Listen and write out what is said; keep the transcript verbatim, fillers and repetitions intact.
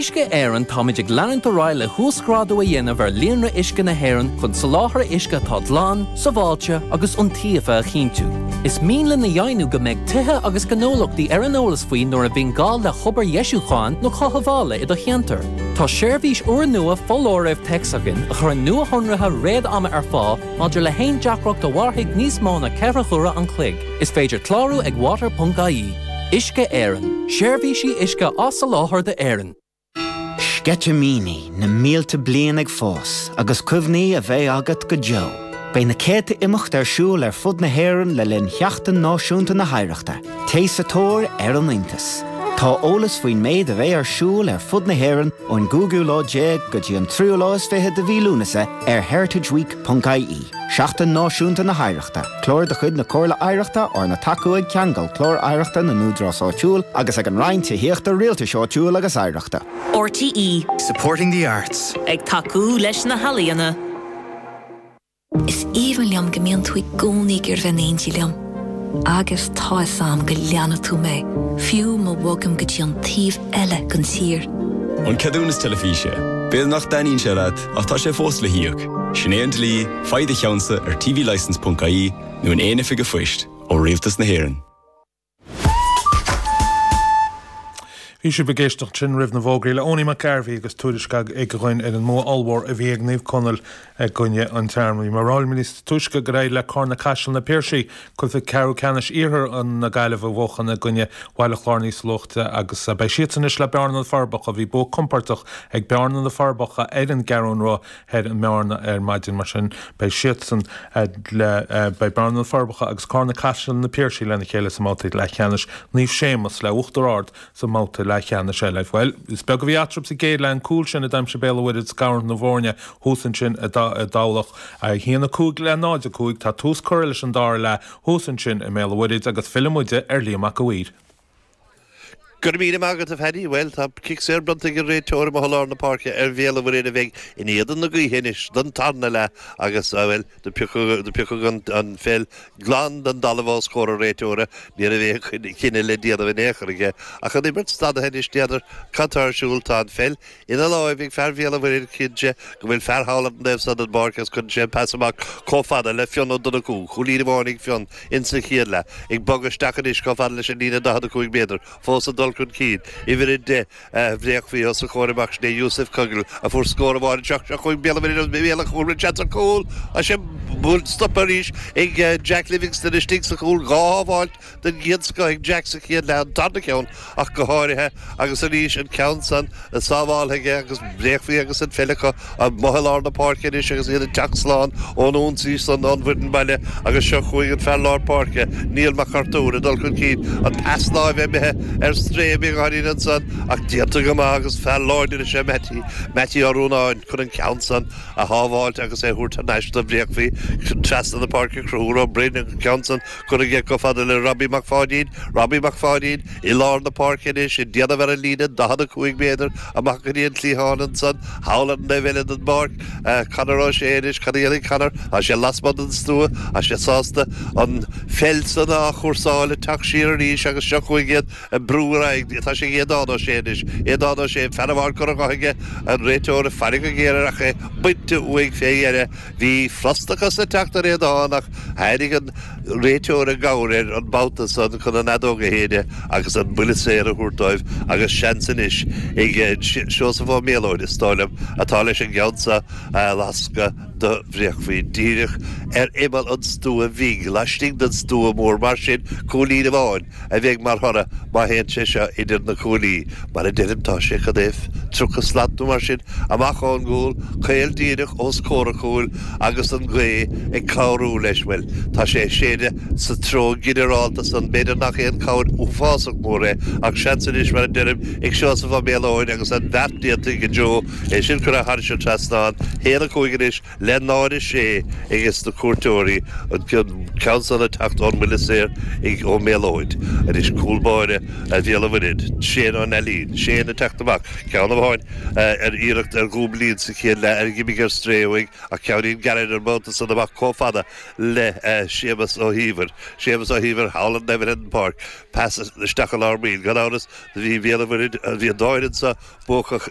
Uisce Éireann táimid ag leanúint ar aghaidh le huasghrádú a dhéanamh ar líonra uisce na hÉireann chun soláthar uisce atá glan, sábháilte agus iontaofa a chinntiú. Is mian linn a dheimhniú go mbeidh tithe agus gnólachtaí ar an eolas faoi nuair a bhíonn gá le hobair dheisiúcháin nó cothabhála i do cheantar. Tá seirbhís úrnua foláirimh téacs againn a chuireann nuashonruithe réad-ama ar fáil maidir le haon deacracht a mhairfidh níos mó ná ceithre huaire an chloig. Is féidir clárú ag water.ie. Uisce Éireann, seirbhísí uisce á soláthar d'Éirinn. Sceitimíní na mílte bliain ag fás agus cuimhní a bheidh agat go deo. Beidh na céadta imeacht ar siúl ar fud na hÉireann le linn Sheachtain Náisiúnta na hOidhreachta, Téigh sa tóir ar an iontas. Tá eolas faoin méid a bheidh ar siúl ar fud na hÉireann ón gcúigiú lá déag go dtí an tríú lá is fiche de mhí Lúnasa ar heritageweek.ie. Seachtain Náisiúnta na hOidhreachta, Clár de chuid na Comhairle Oidhreachta arna thacú ag Ceangal Clár Oidhreachta na nÚdarás Áitiúil agus ag an Roinn Tithíochta Rialtais Áitiúil agus Oidhreachta. RTE Supporting the arts. Ag tacú leis na healaíona. Is aoibhinn liom go mbíonn tú i gcónaí ag iarraidh bheith in éindí liom. Agus tá a fhios agam go leanfaidh tú mé, fiú má bhogaim go dtí an taobh eile den tír. An ceadúnas teilifíse. B'fhéidir nach dtaitníonn sé leat ach tá sé fós le híoc. Sin é an dlí, faigh do cheannsa ar tvlicence.ie nó in aon oifig an phoist ó Rialtas na hÉireann. Bhí sibh ag éisteacht sin roimh na bhfógraí le Owenie McGarvey agus tuairisc ag againn ar an mbua ollmhór a bhí ag Naomh Conaill i gcoinne an Tearmaí. Mar ráil níos túisce go raibh le Carna Caiseal na Piarsaigh cluiche ceathrú ceannais iarthar an na Gaillimh a bhuachan i gcoinne Bhaile Chláir níos luaithe agus beidh siad anois le Bearna na Forbacha bhí bua compordach ag Bearna na Forbacha ar an gCeathrú Rua ar an mBearna ar maidin mar sin beidh siadsan le beidh Bearna na Forbacha agus Carna Caiseal na Piarsaigh lena chéile sa mbabhta leathcheannais Naomh Séamus le Uachtar Ard sa mbabhta leathcheannais eile. Well, is beag a bhí eatarthu sa gcéad leath an cúl sin a d'aimsigh Béal an Mhuirthead scarúint na bhfoirne thuas ansin i dTamhlacht a haon a cúig le náid a cúig tá tús curtha leis an dara leath thuas ansin i mBéal an Mhuirthead agus filleann muid ar Liam Mac a' Mhaoir. Gur mí agad a Phaddy, well tá cic saor bronnta ag an réiteoir i lár na páirce ar Bhéal an Mhuirthead a bheidh in éadan na gaoithe anois don tarna leath agus well do piocadh an, an pheil glan den talamh os comhair an réiteora ní raibh cinneadh le déanamh in aon chor aige ach an imirt stadtha anois n'fheadar cad tá ar siúl tá an pheil ina láimh ag fear Bhéal an Mhuirthead cinnte go bhfuil fear thall an taobh san den bpáirc agus cuireann sé an pas amach chomh fada le Fionn Ó Donnchú cúilín amháin ag Fionn insa chéad leath ag bogadh isteach anois chomh fada leis an líne daichead a cúig méadar fós an dul chun cinn uimhir a deich Bhréachmhaí os a chomhair amach sin é Yusuf Cogle a fuair scór amháin seo seo chuig Béal an Mhuirthead chúl seans ar chúl a sé buailte stop arís ag Jack Livingston istigh sa chúl dhá shábháilt den gcéad scoth ag Jack sa chéad leath an tarna ceann ach go háirithe agus arís an ceann san sábháilte aige agus Bréachmhaí agus an pheil acu amuigh i lár na páirce anois agus iad ag teacht slán ón ionsaí san ón bhfoireann baile agus seo chuaigh an fear lár páirce Niall Mac Artúir ag dul chun cinn an pas láimhe imithe ar strae beagáinín ansan ach déanta go maith agus fear láidir is ea Matty Matty Ó Rúnáin chun an ceann san a shábháilt agus é thabhairt thar n-ais do Bhréachmhaí trasna na páirce Conchúr Ó Broin an ceann san curtha aige chomh fada le Robbie Mac Pháidín Robbie Mac Pháidín i lár na páirce anois ag déanamh ar an líne daichead a cúig méadar amach go dtí an cliathán ansan thall ar an taobh eile den bpáirc Conor Ó Sé anois cad a dhéanfaidh Conor tá sé lasmuigh den stua tá sé sásta an pheil san á chúrsáil ag teacht siar arís agus seo chuaigh iad ag brú ar aghaidh tá sé ag Aodán Ó Sé anois Aodán Ó Sé fear amháin curtha dhe aige an réiteoir ag faire go géar ach é bainte uaidh fé dheireadh bhí frustrachas ag teacht ar Aodán ach tháinig an réiteoir i gcabhair air an babhta san chun an fheadóg a shéideadh agus an buille saor a thabhairt dóibh agus seans anois ag Seosamh Ó Méalóid is dóigh liom atá leis an gceann seo a lascadh do Bhréachmhaí díreach ar imeall an stua bhig laistigh den stua mór mar sin cúilín amháin a bheidh mar thoradh má théann sé seo idir na cuaillí mar a deirim tá sé cad é tríocha slat nó mar sin amach ón gcúl caol díreach os comhair an chúil agus an ghaoth ag cabhrú leis bhuel tá sé ag séideadh sa treo ginearálta san b'fhéidir nach aon chabhair uafásach mór é ach seans anois mar a deirim ag Seosamh Ó Méalóid agus an bheart déanta ag Joe é sin curtha thairis an trasnán haon a cúig anois le náid a sé ages na cuairteoirí an ceann san ag teacht ón mbuille saor ag Ó Méalóid anois cúl báire a Bhéal an Mhuirthead Shane Ó Neilín Shane ag teacht amach ceann amháin ar iarracht ar dhúblín sa chéad leath ar dh'imigh ar strae uaidh ach ceannín gearr ar an mbabhta san amach chomh fada le Séamus Ó hÍomhair Séamus Ó hÍomhair thall an eibh an pháirc pas isteach i lár baill gan amhras bhí Béal an Mhuirthead bhí an dá fhoireann sa buacach